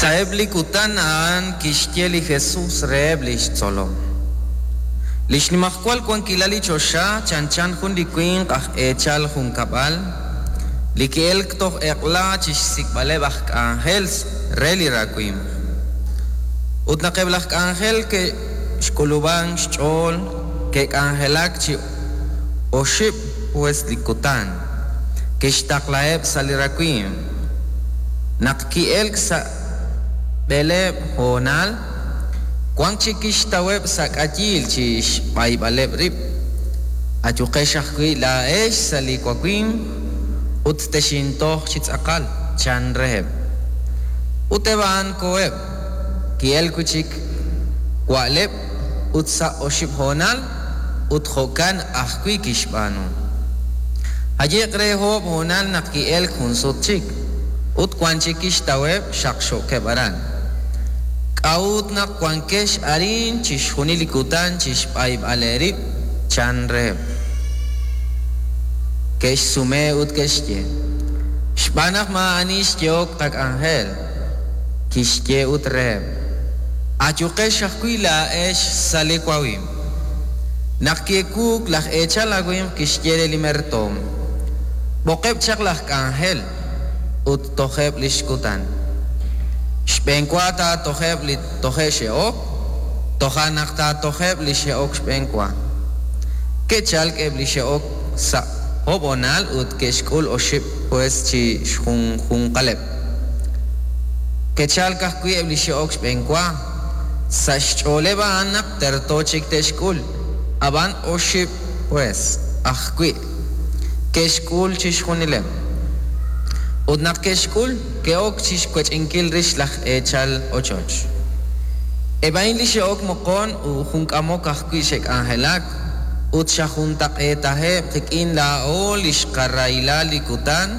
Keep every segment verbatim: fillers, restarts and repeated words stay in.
Sa'eb' li kutan a'an kixye li Jesus reheb' li xtzolom: Li xnimajwal wankilal li choxa chanchan jun li winq aj eechal junkab'al li ki'elk toj eq'la chi xsik'b'aleb' aj k'anjel re li rawimq. Ut naq eb' laj k'anjel ke'xk'ulub'an xch'ool, ke'k'anjelak chi oxib' pues li kutan, kixtaqlaheb' sa' li rawimq. Naq ki'elk sa' b'eleeb' honal, wank chik kixtaweb' sa' k'ayiil chi xb'ayb'aleb' rib': «Ayuqex ajwi' laa'ex sa' li wawimq ut texintoj chi tz'aqal», chan reheb'. Ut eb' a'an koheb'. Ki'elk wi' chik wa'leb' ut sa' oxib' honal, ut jo'kan ajwi' kixb'aanu. Haye'k re oob' honal naq ki'elk jun sut chik, ut wan chik kixtaweb' xaqxookeb' aran: «K'a'ut naq wankex arin chixjunil li kutan chi xb'ayb'al eerib'?», chan reheb'. Ke'xsume ut ke'xye: «Xb'aan naq maa'ani xyehok qak'anjel». Kixye ut reheb': «Ayuqex ajwi' laa'ex sa' li wawimq». Naq ki'ewuuk, laj eechal awimq kixye re li mertoom: «B'oqeb' chaq laj k'anjel ut tojeb' li xkutan. Xb'enwa taatojeb' li toje' xe'ok, toja' naq taatojeb' li xe'ok xb'enwa». Ke'chalk eb' li xe'ok sa' oob' honal ut ke'xk'ul oxib' pues chi xjunjunqaleb'. Ke'chalk ajwi' eb' li xe'ok xb'enwa, sa' xch'ooleb' a'an naq terto chik te'xk'ul, ab'an oxib' pues ajwi' ke'xk'ul chixjunileb'. Ut naq ke'xk'ul, ke'ok chi xwech'inkil rix laj eechal ochoch: «Eb' a'in li xe'ok moqon ut jun k'amok ajwi' xe'k'anjelak, ut xajuntaq'eetaheb' qik'in laa'o li xqarahila li kutan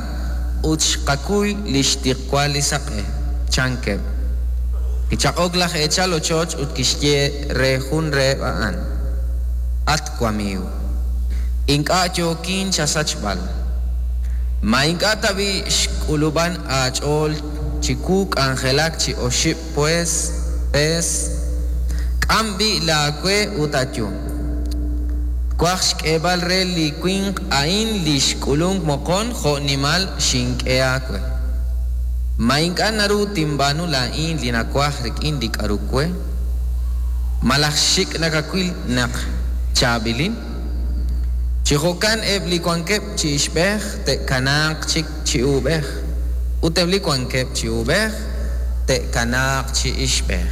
ut xqakuy li xtiqwal li saq'e», chankeb'. Kichaq'ok laj eechal ochoch ut kixye re jun reheb' a'an: «At wamiiw, ink'a' yookin chasachb'al. Ma ink'a' tab'i' xk'ulub'an aach'ool chiwu k'anjelak chi oxib' pues pees? K'am b'i' laawe ut ayu. Twaj xk'eeb'al re li winq a'in li xk'ulunk moqon jo' nimal xink'e aawe. Ma ink'a' naru tinb'aanu laa'in li nawaj rik'in li k'aru we? Malaj xik' nakawil naq chaab'ilin? Chi jo'kan eb' li wankeb' chi ixb'ej te'kanaaq chik chi uub'ej, ut eb' li wankeb' chi uub'ej te'kanaaq chi ixb'ej».